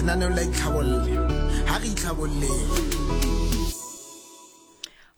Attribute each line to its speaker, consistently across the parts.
Speaker 1: Lenaneo la itlhabolle. Ha re itlhabolleng.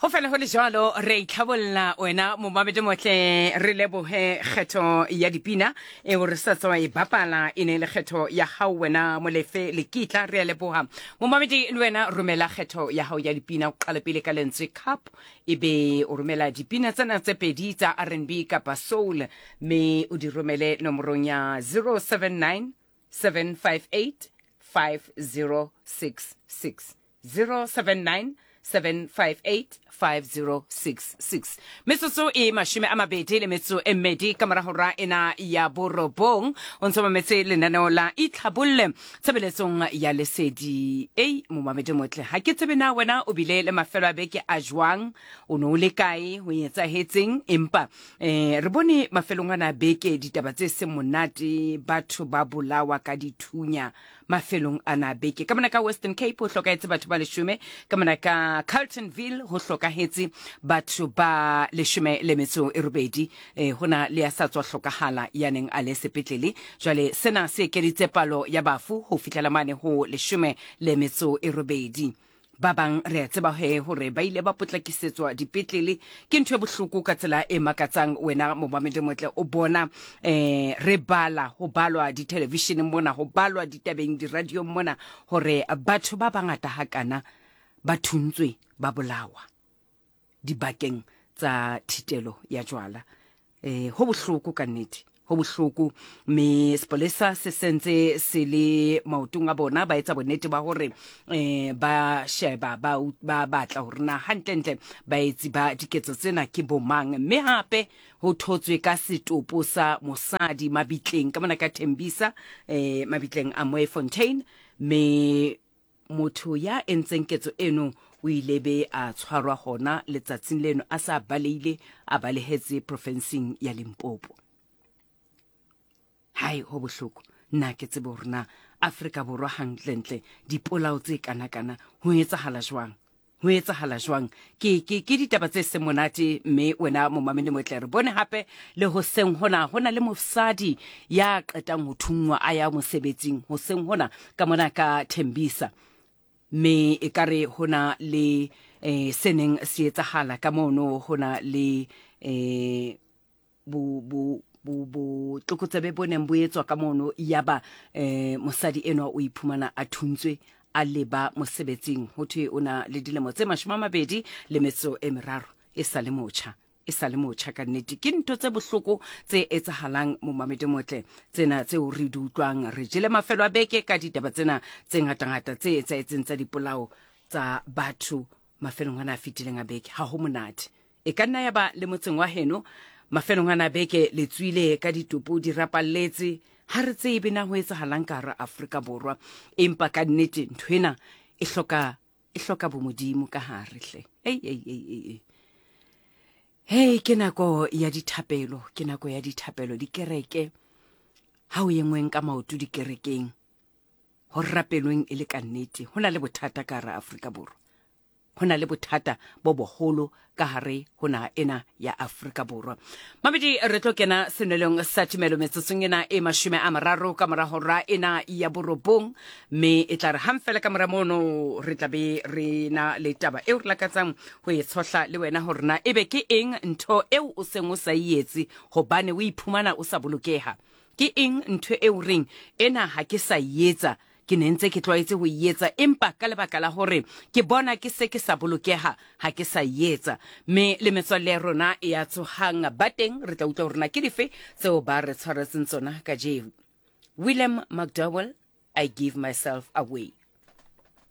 Speaker 2: Go fela go le jalo re itlhabolla wena momamedi motle re leboge kgetho ya dipina eo re sa tswa e bapala e ne e le kgetho ya gago wena molefe lekitla re a leboga momamedi le wena romela kgetho ya gago ya dipina o qale pele ka lentswe cup e be o romela dipina tsena tse pedi tsa rnb kapa soul mme o di romele nomorong ya 079 758 5066 079 758 5066 metsotso e mashome a mabedi le metso e mmedi ka morago ra ena ya borobong o ntse mametse lenaneo la itlhabolle tshebeletsong ya lesedi ei momamedi motle ga ke tsebe na wena o bile le mafelo a beke a jwang o ne o le kae ho etsahetseng empa um re bone mafelong ana a beke ditaba tse seng monate batho ba bolawa ka dithunya mafelong ana a beke ka mona ka Western Cape ho hlokahetse batho ba leshome ka mona ka Carltonville ho hlokahetse batho ba leshome le metso e robedi eh, ho na le ya sa tswa hlokahala ya neng a le sepetlele jwale sena se ekeditse palo ya bafu ho fihlela mane ho leshome le metso e robedi Ba bang re a tseba he hore ba ile ba potlakisetswa dipetlele. Ke ntho e bohloko ka tsela e makatsang wena momamedi motle o bona eh re bala ho balwa ditelevisheneng mona ho balwa ditabeng diradiong mona hore batho ba bangata hakana ba thuntswe ba bolawa dibakeng tsa thitelo ya jwala. Eh ho bohloko ka nnete ho bohloko mme sepolesa se sentse se le maotong a bona ba etsa bonnete ba hore eh ba sheba ba ba batla hore na hantlentle baetsi ba diketso tsena ke bomang mme hape ho thotswe ka setopo sa mosadi mabitleng ka mona ka Thembisa eh mabitleng a Moefontein mme Motho ya entseng ketso eno o ile be a tshwarwa hona letsatsing leno a sa baleile a balehetse profensing ya Limpopo. Hai ho bohloko nna ke tsebe hore na Afrika Borwa hantlentle dipolao tse kanakana ho etsahala jwang. Ho etsahala jwang? Ke, ke, ke ditaba tse seng monate, mme wena momamedi motle re bone hape le hoseng hona ho na le mosadi ya qetang ho thunngwa a ya mosebetsing hoseng hona ka mona ka Thembisa. Mme e ka re ho na le eh, se neng se etsahala ka mono ho na le eh, bo bo bo botlokotsebe bo neng bo etswa ka mono yaba eh mosadi enwa o iphumana a thuntswe a leba mosebetsing ho thwe o na le dilemo tse 22 le metso e meraro e sa le motjha e sa le motjha ka nnete ke ntho tse bohloko tse etsahalang momamedi motle tsena tseo re di utlwang re jele mafelo a beke ka ditaba tsena tse ngatangata tse etsahetseng tsa dipolao tsa batho mafelong ana a fetileng a beke ha ho monate E ka nna ya ba le motseng wa heno mafelong ana a beke le tswile ka ditopo di rapalletse. Ha re tsebe na ho etsahalang ka hara Afrika Borwa. Empa ka nnete ntho ena e hloka e hloka bomodimo ka hare hle. Ei ei ei ei. ei. Hei ke nako ya dithapelo, ke nako ya dithapelo dikereke. Ha o engweng ka maoto dikerekeng ho rapelweng e le ka nnete. Ho na le bothata ka hara Afrika Borwa. Ho na le bothata bo boholo ka hare ho naha ena ya Afrika Borwa. Mabedi re tlo kena senwelong sa tumelo metsotsong ena e 30 ka mora hora ena ya borobong, mme e tla re hang fela ka mora mono re tla be re na le taba eo re lakatsang ho e tshohla le wena hore na ebe ke eng ntho eo o seng o sa e etse hobane o iphumana o sa bolokeha. Ke eng ntho eo reng ena ha ke sa e etsa Ke ne ntse ke tlwaetse ho e etsa, empa ka lebaka la hore ke bona ke se ke sa bolokeha, ha ke sa e etsa. Mme le metswalle ya rona ya tsohang ba teng, re tla utlwa hore na ke dife tseo ba re tshwaretseng tsona kajeno. William McDowell, I Give Myself Away.